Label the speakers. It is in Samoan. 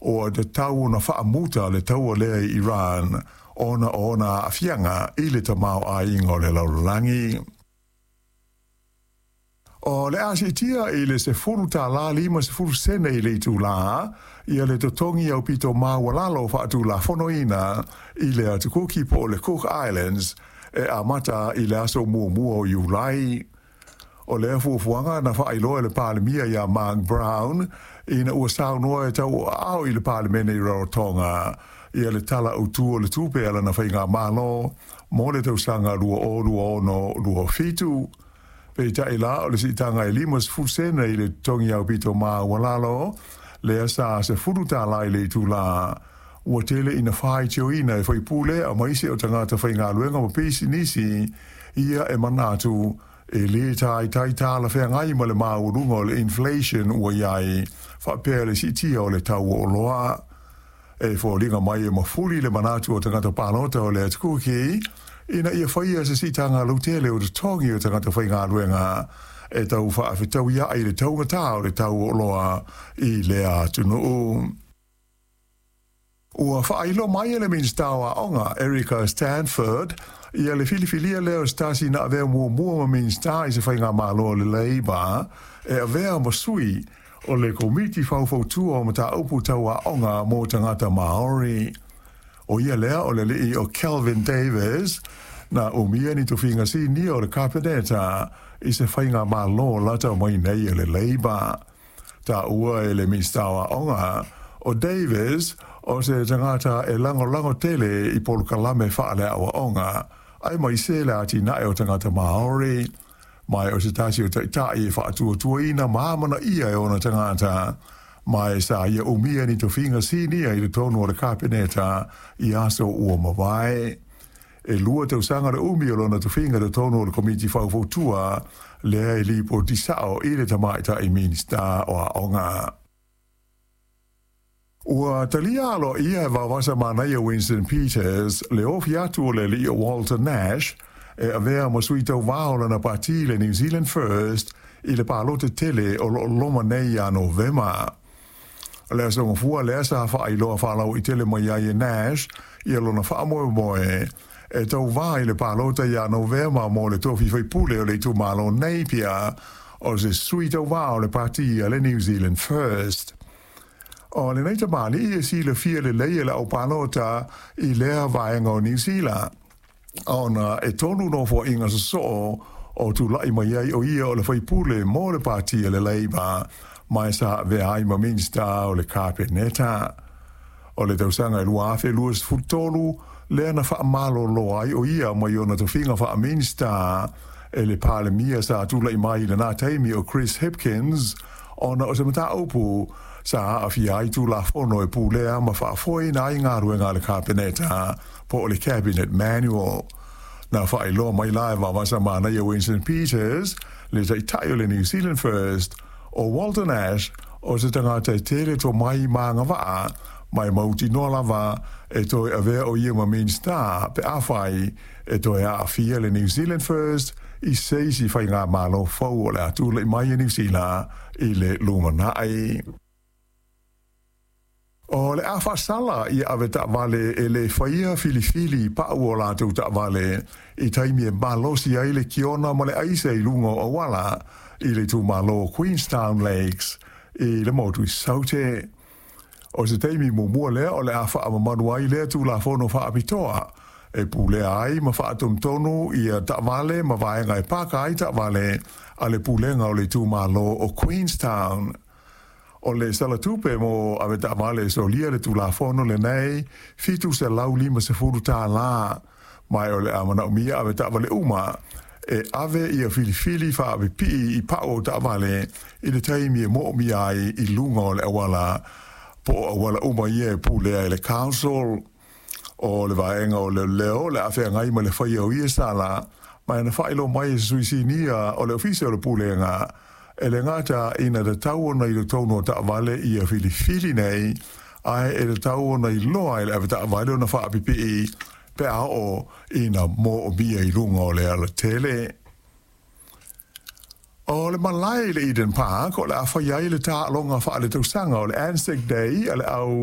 Speaker 1: ua tatau ona faamuta le taua lea i Iran ona o ona aafiaga i le tamaoaiga o le lalolagi. O le a siitia i le $10.50 sene i le itulā ia le totogi aupito maualalo faatulafonoina i le Atu Kuki po o le Cook Islands e amata i le aso 1 o Iulai. O lea fuafuaga na faailoa e le Palemia ia Mark Brown ina ua saunoa e tauoaao i le Palemene i Rarotonga ia le Tala Autu o le Tupe a lana Faigamalo mo le tausaga 2026/27. Peitai la o le siitaga e 50 sene i le totogi aupito maualalo, lea sa $10 i le itulā, ua tele ina faitioina e faipule aemaise o tagata faigaluega ma pisinisi ia e manatu e lē taitai talafeagai ma le maualuga o le inflation ua i ai faapea le siitia o le tau o oloa. E foliga mai e mafuli le manatu o tagata palota o le Atu Kuki ina ia faia se siitaga lautele o totogi o tagata faigaluega e tau faafetauiaʻi le taugatā o le tau o oloa i lea atunuu. Ua faailoa mai e le Minisita o Aoga, Erica Stanford, ia le filifilia lea o se tasi na avea muamua ma Minisita i se Faigamalo a le Labour e avea ma sui o le Komiti Faufautua o Mataupu Tau Aoga mo Tagata Maori. O ia lea o le alii o Kelvin Davis, na umia ni tofiga sinia o le Kapeneta i se Faigamalo lata mai nei a le Labour. Taua e le Minisita o Aoga, o Davis o se tagata e lagolago tele i polokalame faaleaoaoga, aemaise le atinae o tagata Maori, ma o se tasi o taitai e faatuatuaina ma amanaia e ona tagata, ma e sa ia umia ni tofiga sinia i totonu o le Kapeneta i aso ua mavae. E 2 tausaga le umi o lona tofiga i totonu o le Komiti Faufautua lea e lipoti sao i le Tamaitai Minisita o Aoga. Ua talia aloaia e Vaovasa Manaia Winston Peters le ofi atu o le alii o Walter Nash e avea ma sui tauvā o lana pati le New Zealand First i le palota tele o loo loma nei ia Novema. O le aso Gafua lea sa faailoa faalauaitele mai ai e Nash ia lona faamoemoe e tauvā i le palota ia Novema mo le tofi faipule o le itumalo Napier o se sui tauvā o le pati a le New Zealand First. O lenei tamalii e silafia lelei e le aupalota i lea vaega o Niu Sila, ona e 3 nofoaiga sosoo o tulaʻi mai ai o ia o le faipule mo le pati a le Labour, ma e sa avea ai ma Minisita o le Kapeneta. O le tausaga e 2023 lea na faamalolo ai o ia mai ona tofiga faa-Minisita e le Palemia sa tulaʻi mai i lenā taimi o Chris Hipkins, ona o se mataupu sa aafia ai Tulafono e pulea ma faafoeina ai galuega a le Kapeneta po o le Cabinet Manual. Na faailoa mai la e Vaovasa Manaia Winston Peters, le taitai o le New Zealand First, o Walter Nash o se tagata e tele tomai ma agavaa, ma e mautinoa lava e toe avea o ia ma Minisita pe afai e toe aafia le New Zealand First i se isi faigamalo fou o le a tulaʻi mai e Niu Sila i le lumanai. O le a faasala ia ave taavale e lē faia filifili pau o latou taavale i taimi e malosi ai le kiona ma le aisa i luga o auala i le itumalo Queenstown Lakes i le motu i Saute. O se taimi muamua lea o le a faamamalu ai lea Tulafono faapitoa e pulea ai ma faatonutonu ia taavale ma vaega e paka ai taavale a le pulega o le itumalo o Queenstown. O le salatupe mo ave taavale e solia le Tulafono lenei $750, ma o le a manaomia ave taavale uma e ave ia filifili faapipii i pau o taavale i le taimi e moomia ai i luga o le auala po o auala uma ia e pulea e le council. O le vaega o leoleo le a feagai ma le faia o ia sala, ma e na faailoa mai e se sui sinia o le ofisa o le pulega e le gata ina tatau ona i totonu o taavale ia filifili nei, ae e tatau ona iloa e le ave taavale ona faapipii pe a oo ina moomia i luga o le alatele. O le malae i le Eden Park o le a fai ai le taaloga faaletausaga o le Anzac Day a le au